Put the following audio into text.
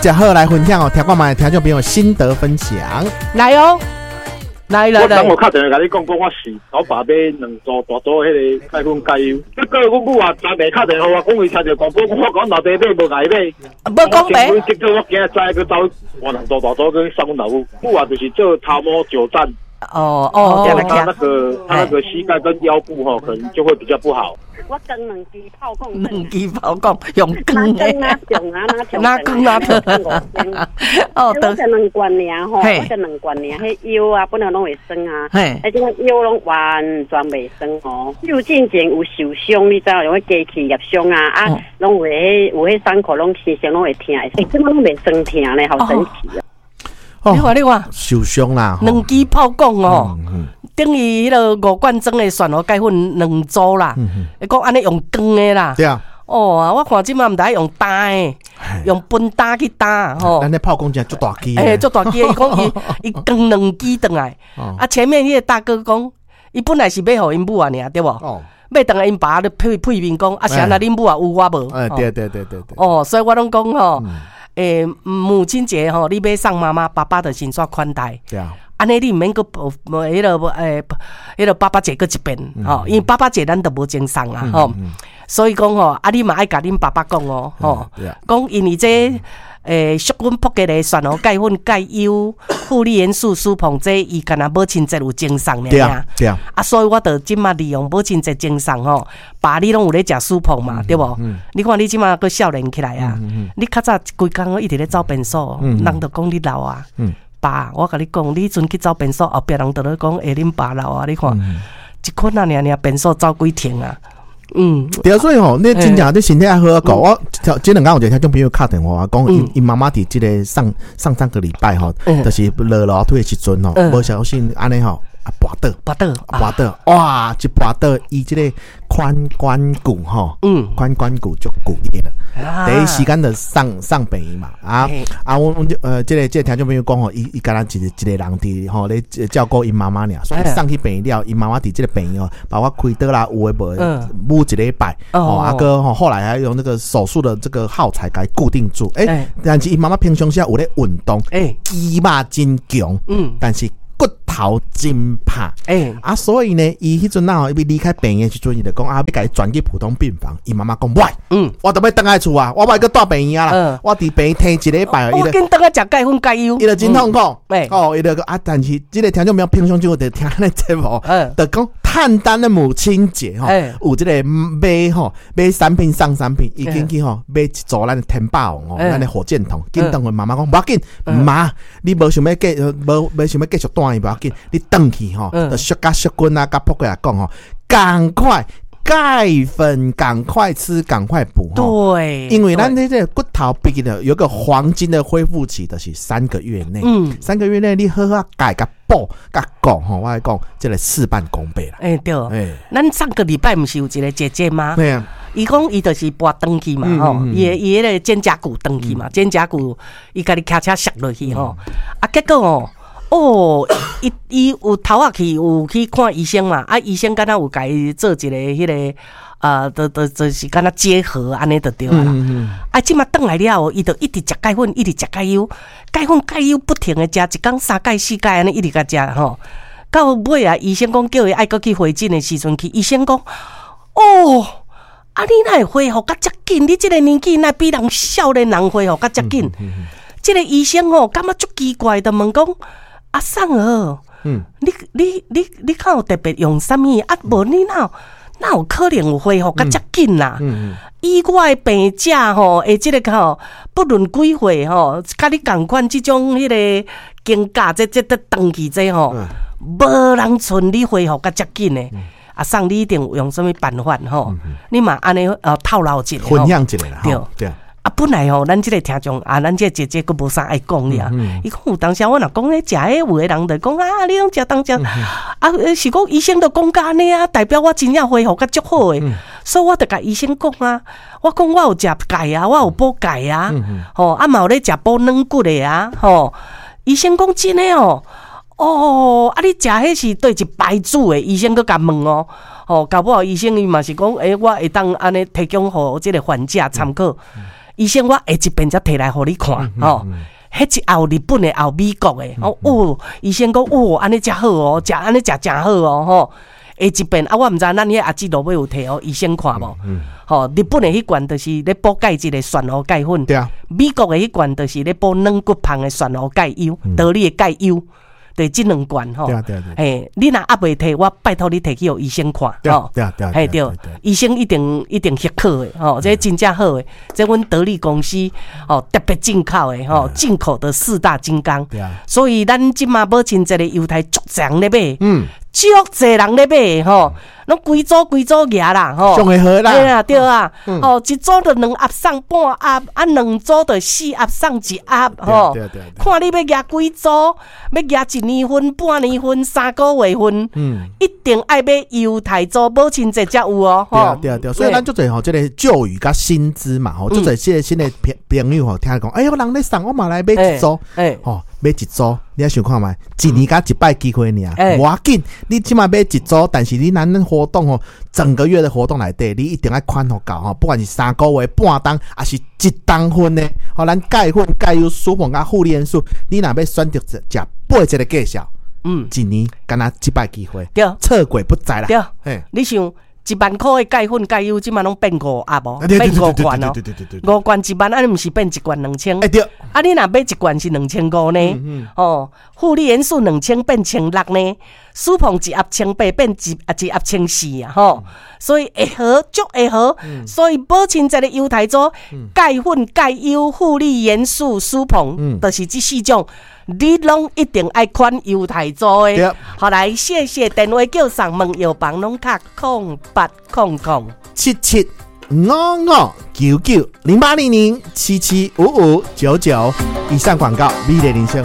食好來分享哦，聽看覓聽眾朋友心得分享。來哦，來來來。我昨昏敲電話共你講，講我是老爸買兩組大組彼个鈣粉鈣油，結果阮母啊昨暝敲電話予我，講伊聽著廣播，我講老爸買無共伊買，無講白。結果我今日知閣走換兩組大組去送阮老母，母啊就是做頭毛久站。哦哦，他那個膝蓋跟腰部吼，可能就會比較不好。我扛兩支炮管，兩支炮管用扛的，哪扛啊哪扛哪扛。哦，我食兩罐爾吼，我食兩罐爾，彼腰啊本來攏會酸啊，啊這個腰攏完全袂酸哦。有進前有受傷，你知影？用彼機器入傷啊，啊，攏會有彼傷口攏時常攏會疼，欸，這擺攏袂酸疼咧，好神奇哦。你看你看，受傷啦，兩支炮管哦，等於彼個五罐裝的蒜頭鈣粉兩組啦。伊講按呢用扛的啦。對啊。哦，我看這馬毋知用擔的，用分擔去擔吼。咱的炮管真足大支。欸，足大支，伊講伊伊扛兩支轉來。啊，前面彼個大哥講，伊本來是欲予𪜶母仔爾，對無？欲轉來𪜶爸咧配配面講，啊，是按怎恁母仔有我無？哎，對對對對對。哦，所以我攏講吼。欸，母親節吼，你欲送媽媽，爸爸就先煞款待。對啊。按呢你毋免閣彼个欸，彼个爸爸節閣一遍吼，因為爸爸節咱都無贈送啊吼。所以講吼，啊你嘛愛共恁爸爸講哦，吼，講因為這欸，淑阮撲街的蒜頭鈣粉、鈣優、富麗元素、蘇鵬這伊敢若母親節有贈送爾。對啊，對啊。啊，所以我就這馬利用母親節贈送吼，爸你攏有咧食蘇鵬嘛，對無？你看你這馬閣少年起來啊，你較早規工攏一直咧走便所，人就講你老啊。爸，我共你講，你彼陣去走便所，後壁人就咧講，欸，恁爸老啊，你看，一困啊爾爾便所走幾程啊。嗯，對啊，所以吼，你真正你身體愛好好顧。我這兩工有一個聽眾朋友敲電話講，𪜶𪜶媽媽佇這個上上上個禮拜吼，就是落樓梯的時陣吼，無小心按呢吼，啊跋倒，跋倒，跋倒，哇！一跋倒，伊這個髖關骨吼，髖關骨就骨裂了。第一時間就送送病院嘛，啊啊！阮這個聽眾朋友講吼，伊伊敢若一個一個人佇吼咧照顧𪜶媽媽爾，所以送去病院了，𪜶媽媽佇這個病院哦，包括開刀啦，有的無的，舞一禮拜，哦，啊閣吼後來還用那個手術的這個耗材共伊固定住。欸，但是𪜶媽媽平常時有咧運動，欸，肌肉真強，但是骨頭真拍，欸，啊，所以呢，伊彼陣啊，伊欲離開病院的時陣，伊就講啊，欲共伊轉去普通病房。伊媽媽講，袂，我著欲轉來厝啊，我欲閣蹛病院啊啦，我佇病院䖙一禮拜，我緊轉來食鈣粉鈣油，伊就真痛苦，哦，伊就講啊，但是這個聽眾朋友平常就會聽咱的節目，就講趁咱的母親節吼，有這個買吼買產品送產品，伊緊去吼買一組咱的天霸王哦，咱的火箭筒，緊轉去媽媽講，無要緊，媽，你無想欲繼無無想欲繼續蹛院無要緊，你轉去吼，就小甲淑君啊，佮撲過來講吼，趕快鈣粉，趕快吃，趕快補。對，因為咱這個骨頭畢竟有個黃金的恢復期，就是三個月內。三個月內你好好鈣佮補佮顧吼，我來講這個事半功倍啦。欸，對。欸，咱上個禮拜毋是有一個姐姐嗎？對啊。伊講伊就是跋斷去嘛，吼，伊的伊彼個肩胛骨斷去嘛，肩胛骨伊家己騎車摔落去吼，啊，結果哦。哦，伊伊有頭仔去有去看醫生嘛？啊，醫生敢若有共伊做一個彼個，就就就是敢若結合按呢就對啦。啊，這馬轉來了後，伊就一直食鈣粉，一直食鈣油，鈣粉鈣油不停的食，一工三蓋四蓋按呢一直共食吼。到尾啊，醫生講叫伊愛閣去回診的時陣去，醫生講，哦，啊你哪會恢復甲遮緊？你這個年紀哪比人少年人恢復甲遮緊？這個醫生吼感覺足奇怪，就問講。阿送哦，你你你你敢有特別用啥物？啊，無你哪有哪有可能有恢復甲遮緊啦？以我的病者吼，的這個吼，不論幾歲吼，佮你仝款這種彼個肩胛這這這斷去這吼，無人像你恢復甲遮緊的。阿送你一定有用啥物辦法吼？你嘛按呢透露一下，分享一下啦，對對。啊，本來吼，咱這個聽眾啊，咱這個姐姐閣無啥愛講爾。伊講有當時我若講咧食彼有的人就講啊，你攏食當食，啊，是講醫生都講甲按呢啊，代表我真正恢復甲足好的。所以我就共醫生講啊，我講我有食鈣啊，我有補鈣啊，吼，啊嘛有咧食補軟骨的啊，吼。醫生講真的哦，哦，啊你食彼是佗一牌子的？醫生閣共問哦，吼，搞不好醫生伊嘛是講，欸，我會當按呢提供予這個患者參考。醫生，我下一遍才提來予你看，吼。彼一盒日本的，也有美國的，哦，哦，醫生講，哦，按呢誠好哦，食按呢食誠好哦，吼。下一遍啊，我毋知咱彼阿姊落尾有提予醫生看無？吼，日本的彼罐就是咧補鈣質的玄烏鈣粉，對啊。美國的彼罐就是咧補軟骨芳的玄烏鈣優，道理的鈣優。對，這兩罐吼，嘿，你若猶未提，我拜託你提去予醫生看，吼，對對，嘿對，醫生一定一定許可的，吼，這真正好的，這阮德利公司哦特別進口的，吼，進口的四大金剛，所以咱這馬母親節的猶太足濟人咧買，足濟人咧買，吼，攏規組規組額啦，吼，上會好啦，對啊對啊，哦，一組就兩盒送半盒，啊，兩組就四盒送一盒，吼，看你欲額幾組，欲額一年份、半年份、3個月份，一定愛買猶太組，母親節才有哦，對啊對啊對，所以咱足濟吼，這個舊雨佮新知嘛，吼，足濟這個新的朋友吼，聽講，哎喲，人咧送，我嘛來買一組，吼，買一組，你愛想看覓，一年才一擺機會爾，無要緊，你這馬買一組，但是你咱活動吼，整個月的活動內底，你一定愛款予夠吼，不管是3個月、半冬，抑是一冬份的，吼，咱鈣粉、鈣優、舒膨佮護理元素，你若欲選擇食八一個介紹，一年敢若一擺機會，對，錯過不再啦，對，你想1萬箍的鈣粉、鈣優，這馬攏變五盒無？變五罐哦，五罐1萬，按呢毋是變一罐2000？欸對，啊，你若買一罐是2500呢？哦，護理元素2000變1600呢？舒膨一盒1800變一盒1400啊！吼，所以會好，足會好。所以母親節的猶太組鈣粉、鈣優、護理元素、舒膨，就是這四種，你攏一定愛款猶太組的。好來，謝謝電話叫上問藥房攏敲08007755990800775599。以上廣告，美麗人生。